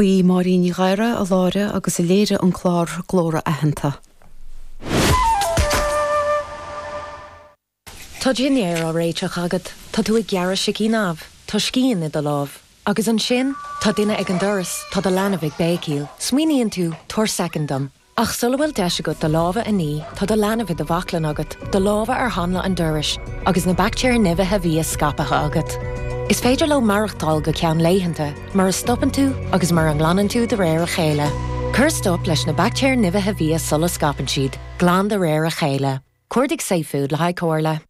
Ba í Máirín Ní Ghadhra a láithrigh agus a léirigh an clár Glór Aitheanta. Tá dinnéar á réiteach agat, tá tú ag gearradh sicín amh, tá scian i do lámh. Agus ansin, tá duine ag an doras, tá do leanbh ag béicíl. Smaoiníonn tú, tabhair soicind dom. Ach sula bhfuil deis agat do lámha a ní, tá do leanbh i do bhaclainn agat, do lámha ar hanla an dorais, agus na baictéir nimhithe bhia scaipthe agat. Is féidir leo maireachtáil go ceann laethanta, mura stopann tú agus mura nglanann tú de réir a chéile. Cuir stop leis na baictéir nimhithe bhia sula scaipeann siad. Glan de réir a chéile. Cuardaigh safefood le haghaidh comhairle.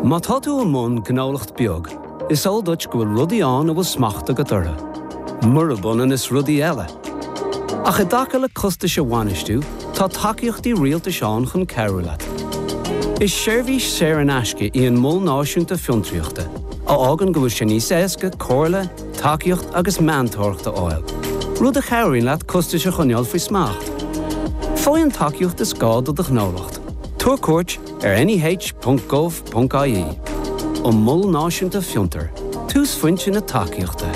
Má tá tú i mbun gnólacht beag, is eol duit go bhfuil rudaí ann a bhfuil smacht agat orthu, murab ionann is rudaí eile. Ach i dtaca le costais a bhainistiú, tá tacaíochtaí rialtais ann chun cabhrú leat. Is seirbhís saor in aisce í an Mol Náisiúnta Fiontraíochta, a fhágann go bhfuil sé níos éasca comhairle, tacaíocht agus meantóireacht a fháil, rud a chabhraíonn leat costais a choinneáil faoi smacht. Faigh an tacaíocht is gá do do ghnólacht. Tabhair cuairt ar neh.gov.ie. An Mol Náisiúnta Fiontar, túsphointe na tacaíochta.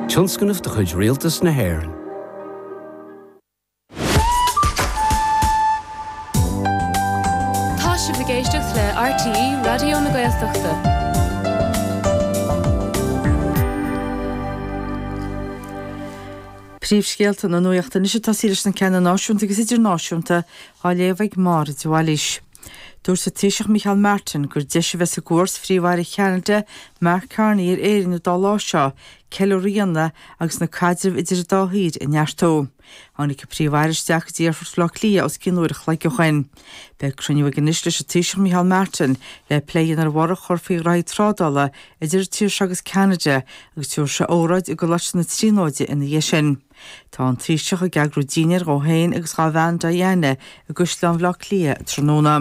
Tionscnamh de chuid Rialtas na hÉireann. Tá sibh ag éisteacht le RTÉ Raidió na Gaeltachta. Príomhscéalta na nuachta anois ag tosaí leis na ceanna náisiúnta agus idirnáisiúnta á léamh ag Máire de Bhailís. Dúirt an Taoiseach Micheál Martin gur deis a bheas i gcuairt Phríomh-Aire Cheanada Mark Carney ar Éirinn an dá lá seo ceiliúradh a dhéanamh agus na caidrimh idir an dá thír a neartú. Tháinig an Príomh-Aire isteach go dtí Aerfort Bhaile Átha Cliath os cionn uair a chloig ó shoin. Beidh cruinniú aige anois leis an Taoiseach Micheál Martin le plé a dhéanamh ar bhorradh a chur faoi ghraithí trádála idir an tír seo agus Ceanada agus tabharfaidh sé óráid i gColáiste na Tríonóide ina dhiaidh sin. Tá an Taoiseach ag eagrú dinnéir dhó féin agus dhá bhean Diana i gCaisleán Bhaile Átha Cliath tráthnóna.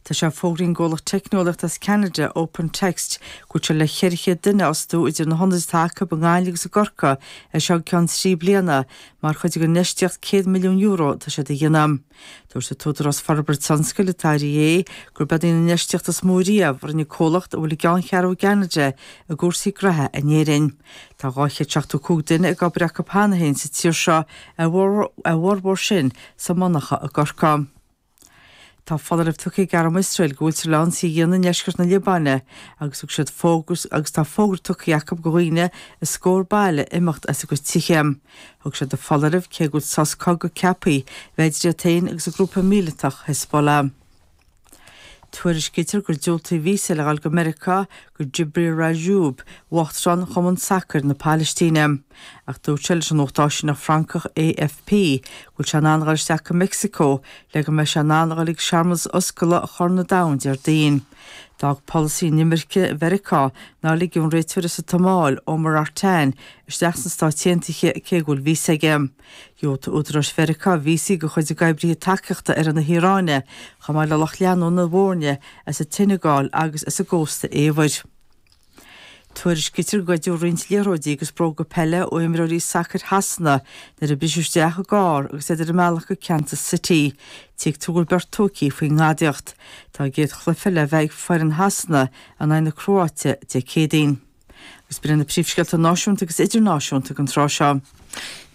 Tá sé fógraithe ag an gcomhlacht teicneolaíochta as Ceanada, Open Text, go bhfuil sé le 400 duine a fhostú idir na hionaid atá acu i nGaillimh agus i gCorcaigh as seo go ceann 3 bliana mar chuid den infheistíocht €100 milliún atá siad a dhéanamh. Dúirt an tÚdarás Forbartha Tionscail, an tIDA, gurb í an infheistíocht is mó riamh a rinne comhlacht a bhfuil a gceanncheathrú i gCeanada i gcúrsaí gnoithe in Éirinn. Tá 275 duine ag obair acu cheana féin sa tír seo, a bhformhór sin sa monarcha i gCorcaigh. Tá foláireamh tugtha ag arm Iosrael go bhfuiltear le ionsaí a dhéanamh i ndeisceart na Liobáine agus thug siad fógra agus tá fógra tugtha acu do dhaoine i scór baile imeacht as a gcuid tithe. Thug siad an foláireamh cé go bhfuil sos cogaidh ceaptha bheith idir iad féin agus an grúpa míleatach Hezbollah. Tuairiscítear gur diúltaíodh víosa le dhul go Meiriceá do Jibril Rajoub, uachtarán Chumann Sacair na Palaistíne. Ach dúirt sé leis an nuacht áisineach Francach AFP go bhfuil sé in ann a dhul isteach go Meicsiceo le go mbeidh sé in ann a dhul ag searmanas oscailte Chorn an Domhain Déardaoin. D'fhág polasaí inimirce Mheiriceá nár ligeadh an réiteoir as an tSomáil, Omar Artan, isteach sna Stáit Aontaithe cé go bhfuil víosa aige. Dhiúltaigh údaráis Mheiriceá víosaí do chuid dá n-oibrithe tacaíochta ar na hIaráine, chomh maith le lucht leanúna na bhfoirne as an tSeineagáil agus as an gCósta Eabhair. Tuairiscítear gur goideadh roinnt liathróidí agus bróga peile ó imreoirí sacair Shasana nuair a briseadh isteach i gcarr agus iad ar a mbealach go Kansas City. Tuigtear go bhfuil beirt tógtha faoin ngadaíocht. Tá a gcéad chluiche le bheith ag foireann Shasana in aghaidh na Cróáite Dé Céadaoin. Agus b'in iad na príomhscéalta náisiúnta agus idirnáisiúnta don tráth seo.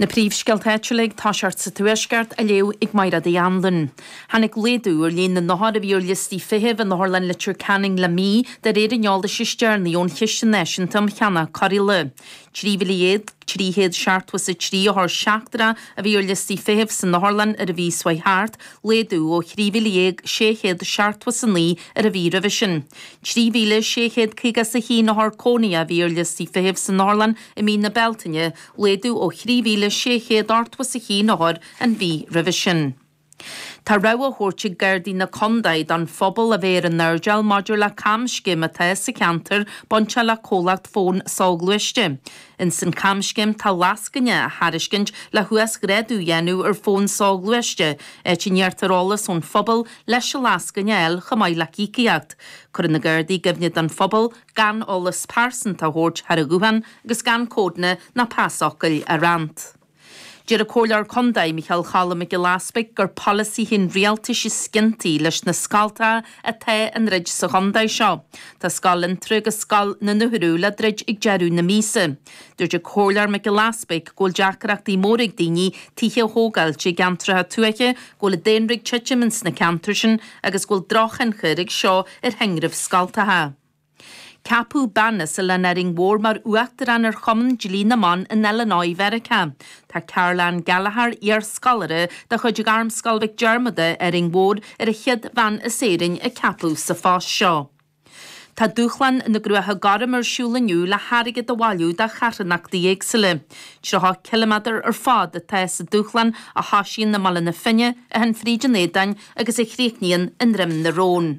Na príomhscéalta áitiúla ag toiseacht sa Tuaisceart á léamh ag Mairéad Uí Anluain. Tháinig laghdú ar líon na n-othar a bhí ar liostaí feithimh in Otharlann Leitir Ceanainn le mí, de réir an eolais is deireanaí ón Chiste Náisiúnta um Cheannach Cóireála. 13,373 othar seachtrach a bhí ar liostaí feithimh san otharlann ar an mhí seo chuaigh thart, laghdú ó 13,679 ar an mhí roimhe sin. 3,651 othar cónaithe a bhí ar liostaí feithimh san otharlann i mí na Bealtaine, laghdú ó 3,681 othar an mhí roimhe sin. Tá rabhadh á thabhairt ag Gardaí na Condae don phobal a bheith ar a n-airdeall maidir le camscéim atá sa cheantar bainteach le comhlacht fón soghluaiste. Ins an camscéim tá lascaine á thairiscint le huasghrádú a dhéanamh ar fón soghluaiste, áit a n-iarrtar eolas ón phobal leis an lascaine a fháil chomh maith le híocaíocht. Cuireann na Gardaí i gcuimhne don phobal gan eolas pearsanta a thabhairt thar an ghuthán agus gan códanna ná pasfhocail a roinnt. Deir an Comhairleoir Contae, Micheál Choilm Mac Giolla Easpaig, gur polasaithe an rialtais is ciontaí leis na scoltacha atá á ndruid sa chontae seo. Tá Scoil Fhionntrá agus Scoil na nUrú le druid ag deireadh na míosa. Dúirt an Comhairleoir Mac Giolla Easpaig go bhfuil deacrachtaí móra ag daoine tithe a thógáilt i gceantracha tuaithe, go bhfuil an daonra ag titim ins na ceantair sin agus go bhfuil drochthionchar ag seo ar thinreamh scoltacha. Ceapadh bean as Oileán Árainn Mhór mar Uachtarán ar Chumann Dlí na mBan in Illinois Mheiriceá. Tá Carol Ann Gallagher, iar-scoláire de chuid Ghairmscoil Mhic Diarmada, Árainn Mhór, ar an chéad bhean as Éirinn a ceapadh sa phost seo. Tá Dúshlán na gCruacha Gorm ar siúl inniu le hairgead a bhailiú do charthanachtaí éagsúla. 30 ciliméadar ar fad atá sa dúshlán a thosaíonn i mBaile na Finne, a théann fríd an Éadáin agus a chríochnaíonn i nDroim na Rón.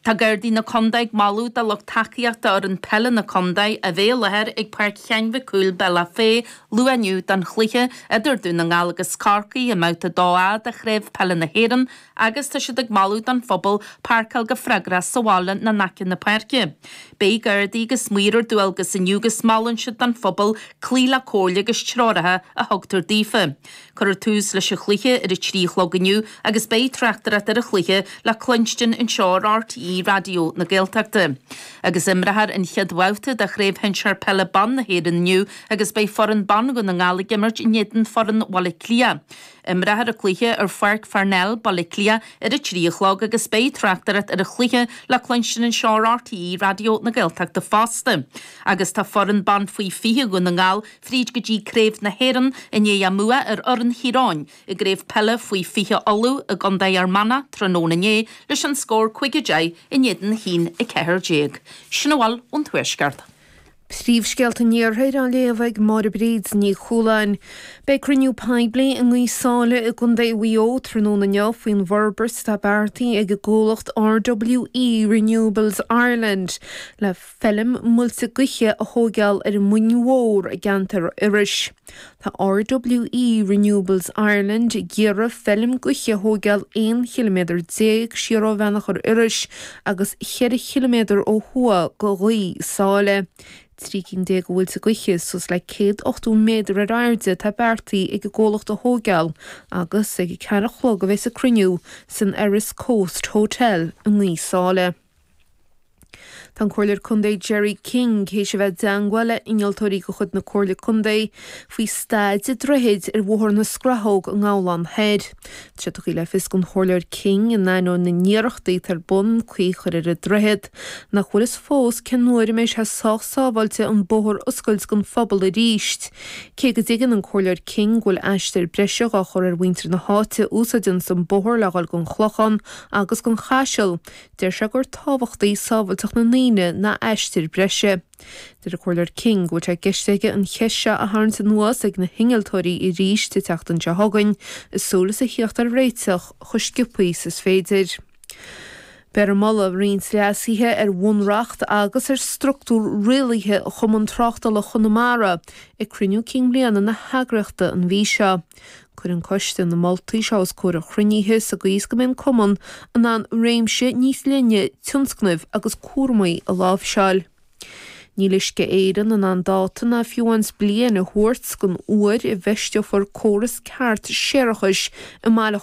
Tá Gardaí na Condae ag moladh do lucht tacaíochta fhoireann peile na condae a bheith i láthair ag Páirc Sheáin Mhic Cumhaill, Bealach Féich, luath inniu don chluiche idir Dún na nGall agus Corcaigh i mBabhta 2A de Chraobh Peile na hÉireann agus tá siad ag moladh don phobal páirceáil go freagrach sa bhaile nó in aice na páirce. Beidh Gardaí agus maoir ar dualgas inniu agus molann siad don phobal cloí le comhairle agus treoracha a thugtar daofa. Cuirfear tús leis an chluiche ar a 3 a chlog inniu agus beidh tráchtaireacht ar an chluiche le cluinstin anseo ar RTÉ Raidió na Gaeltachta. Agus imreofar an chéad bhabhta de Chraobh Shinsear Peile Ban na hÉireann inniu agus beidh foireann ban Dhún na nGall ag imirt in éadan foireann Bhaile Átha Cliath. Imreofar an cluiche ar Pháirc Pharnell, Baile Átha Cliath ar a 3 a chlog agus beidh tráchtaireacht ar an chluiche le cluinstin anseo ar RTÉ Raidió na Gaeltachta fosta. Agus tá foireann ban faoi 20 Dhún na nGall fríd go dtí Craobh na hÉireann i ndiaidh a mbua ar fhoireann Chiaráin i gCraobh Peile Faoi 20 Uladh i gContae Fhear Manach tráthnóna inné leis an scór 5-10 in éadan 1-14. Sin a bhfuil ón Tuaisceart. Príomhscéalta an Iarthair á léamh ag Máire Bríd Ní Chualáin. Beidh cruinniú poiblí i nGaoth Sáile i gContae Mhaigh Eo tráthnóna inniu faoin bhforbairt atá beartaithe ag an gcomhlacht RWE Renewables Ireland le feilm muilte gaoithe a thóigeáil ar an Muing Mhór i gceantar Iorrais. Tá RWE Renewables Ireland ag iarraidh feilm gaoithe a thóigeáil 11 chiliméadar siar ó Bheannachar Iorrais agus 4 chiliméadar ó thuaidh de Ghaoth Sáile. 13 cinn de mhuilte gaoithe suas le 180 méadar ar airde atá beartaithe ag an gcomhlacht a thóigeáil agus ag a ceathair a chlog a bheas an cruinniú san Erris Coast Hotel i nGaoth Sáile. Tá an Comhairleoir Contae Gerry King théis a bheith i dteangmháil le innealtóirí de chuid na Comhairle Contae faoi staid an droichid ar Bhóthar na Scrathóg i nGabhlán Thoir. Tá sé tugtha le fios don Chomhairleoir King, in ainneoin na n-iarrachtaí atá ar bun caoi a chur ar an droichead, nach bhfuil fhios fós cén uair a mbeidh sé sách sábháilte an bóthar a oscailt don phobal arís. Cé go dtuigeann an Comhairleoir King go bhfuil aistear breise dhá chur ar mhuintir na háite a úsáideanns an bóthar le dhul gon Chlochán agus gon Chaiseal, Deir sé gur tábhachtaí sábhailteacht na ndaoine ná aistear breise. Deir an Comhairleoir King go bhfuil sé i gceist aige an cheist seo a tharraingt anuas ag na hinnealtóirí arís an tseachtain seo chugainn, i súil is a thíocht ar réiteach chomh sciobthaí is is féidir. Beifear ag moladh roinnt leasuithe ar bhunreacht agus ar structúr rialaithe Chumann Tráchtála Chonamara ag cruinniú cinn bhliana na heagraíochta an mhí seo. Cuirfidh an coiste na moltaí seo os comhair an chruinnithe sa gcaoi is go mbeidh an Cumann in ann réimse níos leithne tionscnaimh agus cúramaí a láimhseáil. Níl Uisce Éireann in ann dáta ná fiú amháin bliain a thabhairt don uair a bhfeisteofar córas ceart séarachais i mBaile.